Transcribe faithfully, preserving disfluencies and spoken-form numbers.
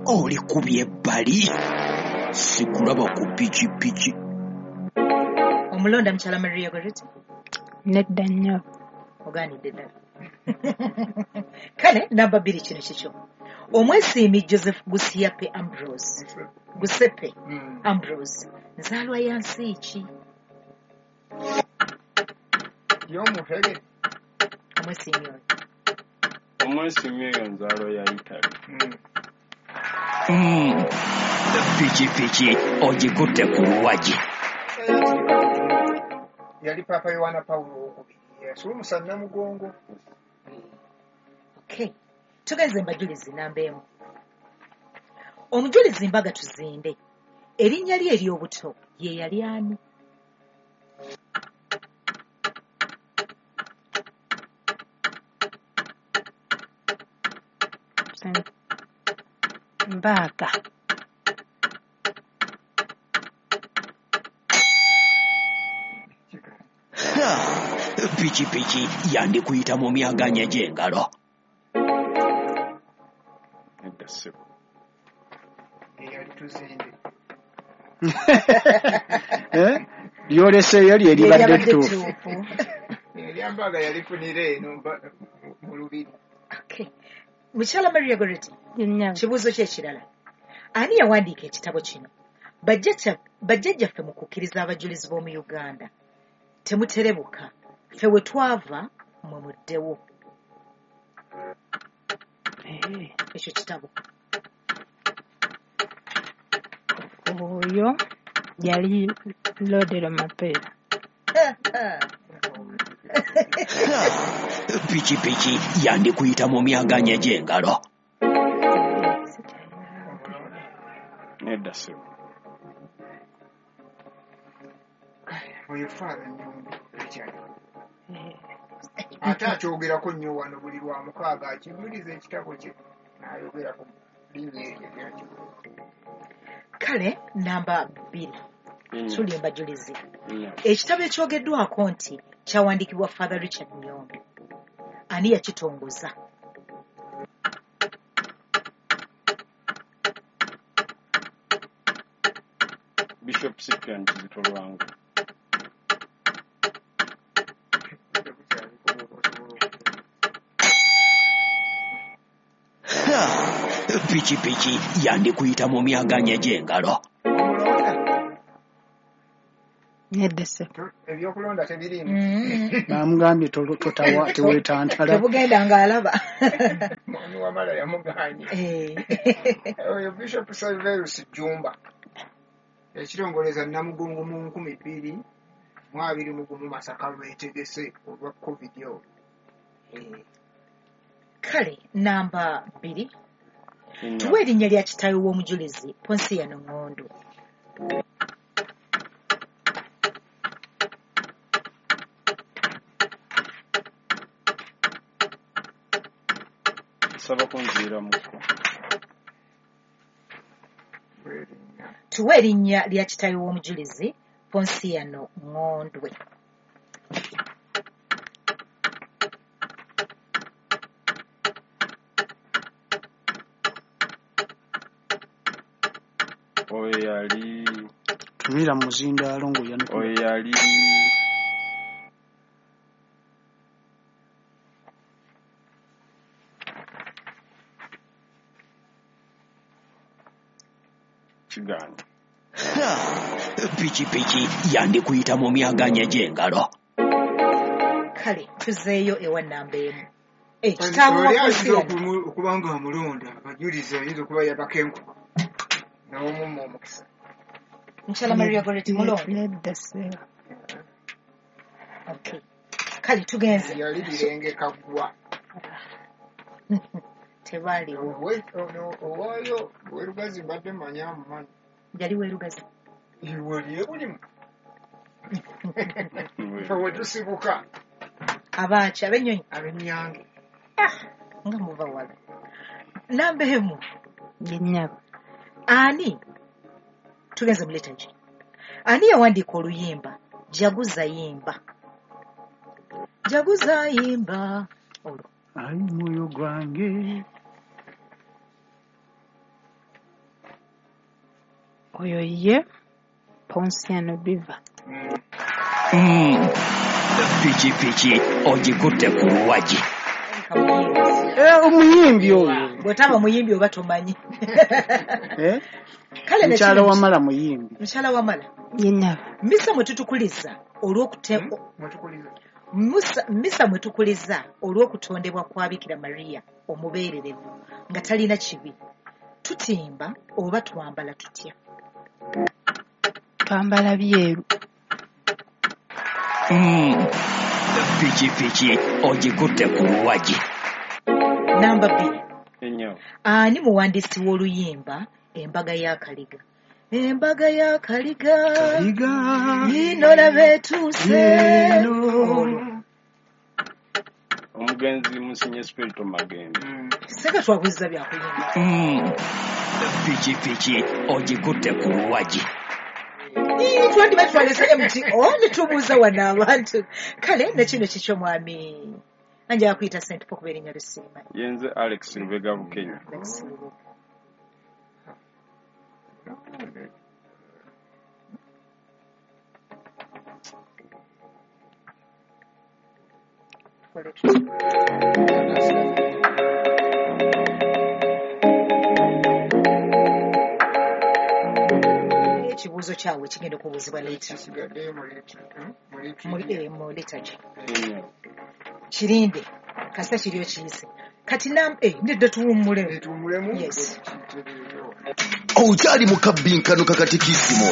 Olikubye ebbali, sikulaba ku pikipiki. Omulonda mukyala Maria Goretti? Nedda nnyo. Ogaanidde ddala. Kale namba bbiri kino kikyo. Omwesiimi Joseph Gusiape Ambrose. Gusepe Mm. Ambrose. Nzaalwa ya nsi ki? Y'omuhege. Omwesiimi oyo. Omwesiimi oyo nzaalwa ya Italy. Mm. Mm. Pikipiki ogikutte ku luwagi. Yali Paapa Yowaana Pawulo owokubiri yasuumusa Namugongo. Okay. Tugenze mbajulizi namba emu. Omujulizi Mbaga Tuzinde. Erinnya lye ery'obuto ye yali ani? Mbaga. Pikipiki yandikuyita mu myaganya gy'engalo. Nedda ssebo. Eyali Tuzinde. Eh? Lyoleseeyo lye libadde Lyeribadde ttuufu. ttuufu. Erya Mbaga yalifunira eno mba- mu lubiri. Okay. Mukyala Maria Goretti, Yennyabo. kibuuzo kye ekirala. Ani yawandiika ekitabo kino? Bajjajja bajjajjaffe mu kukkiriza abajulizi b'omu Uganda. Temuterebuka. Ffe we twava mmwe muddewo. Eh, Ekyo kitabo. Oyo yali Lodero Mapeera. Pikipiki yandikuyita mu myaganya gy'engalo. Nedda ssebo. Oyo Father Nnyombi Richard. Eh, Ate akyogerako nnyo wano buli lwa mukaaga akijuliza ekitabo kye n'ayogera ku linnya eryo lyakikola. Kale namba bbiri. Nnyo. Tuli mbajulizi. Nnyo. Ekitabo ekyogeddwako nti kyawandiikibwa Father Richard Nnyombi. Ani yakitongoza? Bishop Cyprian Kizito Lwanga. Tebukyaliko bw'oba osobola okutegeera. Pikipiki yandikuyita mu myaganya gy'engalo. Omulonda Nedda ssebo. To- ebyokulonda tebiriimu. Mm. Bamugambye to- totawa teweetantala. Tebugenda ng'alaba. Mwami Wamala yamugaanye. Eh. Oyo Bishop Serverus Jjumba yakitongoleza Namugongo mu nkumi bbiri mu abiri mu gumu Masaka lwetegese olwa COVID olwo. Eh, Kale namba bbiri. Nnyo. Tuwe erinnya lya kitaawe w'omujulizi Ponsiano Ŋŋondo. Nsaba kunziiramuko. lw'erinnya. Tuwe erinnya lya kitaawe w'omujulizi Ponsiano Ŋŋondwe. Oyo yali Tunulira mu muzindaalo ng'oyanukula. oyo yali Kigaanyi. Pikipiki yandikuyita mu myaganya gy'engalo. Kale tuzeeyo ewa namba emu. Eh, kitaawe wa Oli ayinza Ponsiano. okumu- okuba nga amulonda abajulizi ayinza okuba yabaka enkuba n'omumma omukisa. Mukyala Maria Goretti mulonda. Nedda ssebo. Okay. Kale tugenze. Yali Birenge Kaggwa. Tebaaliwo. Owe- ono owaayo Werugazi mbadde mmanyi amumanyi. Yali Werugazi. Iwe lye bulimu. Ffe we tusibuka Abaaki ab'ennyonyi ab'ennyange. nga muva wala. Namba emu. Yennyabo. Ani? Tugenze mu liturgy. Ani yawandiika oluyimba Jaguza yimba? Jaguza yimba. Olwo. Ayi mwoyo gwange. Oyo ye Ponsiano Biva. Mm. Pikipiki ogikutte ku luwagi. Alabika muyimbi. Eh, omuyimbi oyo. Bw'otaba muyimbi oba tomanyi. Eh? Kale Mukyala nekino Wamala muyimbi. Mukyala Wamala. Ye nnyabo. Misa mwe tutukuliza olw'okute Mwetukuliza. Musa, misa mwe tukuliza olw'okutondebwa kwa Bikira Maria omubeererevu nga talina kibi. Tutimba oba twambala tutya? Twambala byeru. Mm. Pikipiki ogikutte ku luwagi. Namba bbiri. Ennyabo. Ani muwandiisi w'oluyimba Embaga ya Kaliga? Embaga ya Kaliga Kaliga. ino laba etuuse. Eno. Olwo. Omugenzi Musinye Spirito Magembe. Seka twabuuza bya kuyimba. Mm. Pikipiki ogikutte ku luwagi. Ii, twandiba twalese M T O ne tubuuza wano abantu. Kale ne kino kikyo mwami. Anja akuyita Saint Paul kuba erinnya lisiima. Yenze Alex Lubega Bukenya. Alex Lubega. Tukole tutya? Ekibuuzo kyabwe kigenda okubuuzibwa later. Kisigaddeyo mu litu- hmm? Mu Mu liturgy. eh, mu liturgy. Ennyabo. Kirinde kasita kiri okiyise. Kati nam eh nedda tuwummulemu. Tuwummulemu. Yes. Kitereeyo. Okyali mu kabbinkano kakatikisimu.